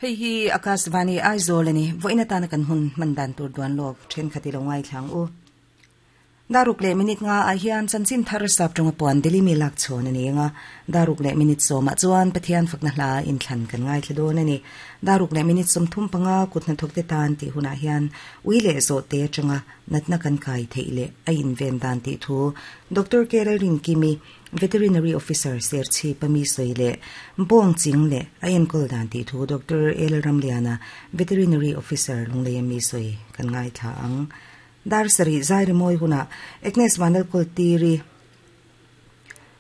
Hei hi Akashvani Aizawl a ni. Vawiin atana kan hun hman dan tur duan lawk thenkhat i lo ngaithla ang u. Daruk leh minute nga ah hian chanchin thar sap tawnga puan Delhi mi lak chhawn a ni ang a, daruk leh minute sawmah chuan Pathian fakna hla inthlan kan ngaithla dawn a ni. Daruk leh minute 35 kut hnathawkte tan tih hunah hian ui leh zawhte atanga natna kan kai theih leh a inven dan tih thu Doctor K Lalrinkimi, Veterinary Officer Serchhip a mi sawi leh bawng ching leh a enkawl dan tih thu Doctor L Ramliana, Veterinary Officer Lunglei a mi sawi kan ngaithla ang. Dar sarih zai rimawi hunah Agnes Vanlalkawltiri,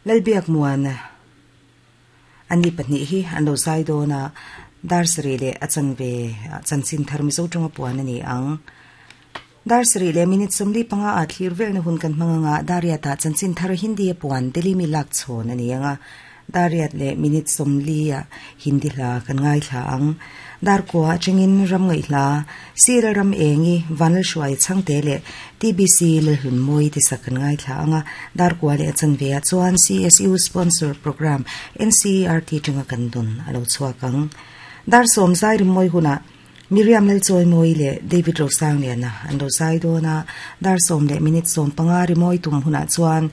Lalbiak Muana an ni pahnih hi an lo zai dawn a, dar sarih leh a chanve chanchin thar Mizo tawnga puan a ni ang. Dar sarih leh minute 45 ah thlir velna hun kan hmang anga Dariatah chanchin thar Hindi a puan Delhi mi lak chhawn a ni ang a. Dar riat leh minute 40 ah Hindi hla kan ngaithla ang. Dar kua atangin ram ngaihhla, Sir Ram Engi, Vanlalhruai Chhangte leh TBC Lalhlunmawi te sak kan ngaithla ang a. Dar kua leh a chanve ah chuan CSU sponsor programme NCERT tanga kan dawn a lo chhuak ang. Dar sawm zai rimmawi hunah Miriam Lalchawimawi leh David Rosangliana an lo zai dawn a, dar sawm leh minute 15 rimawi tum hunah chuan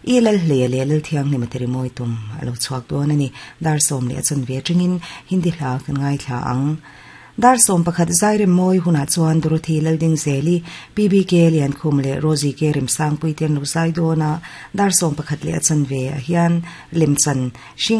I Lalhleia leh Lalthianghlima te rimawi tum a lo chhuak dawn a ni. Dar sawm leh a chanve atangin Hindi hla kan ngaithla ang. Dar 11 zai remmawi hunah chuan Dorothy Laldingzeli, PBK Liankhum leh Rosie K Remsangpui te an lo zai dawn a, dar 11 leh a chanve ah hian lemchan hring.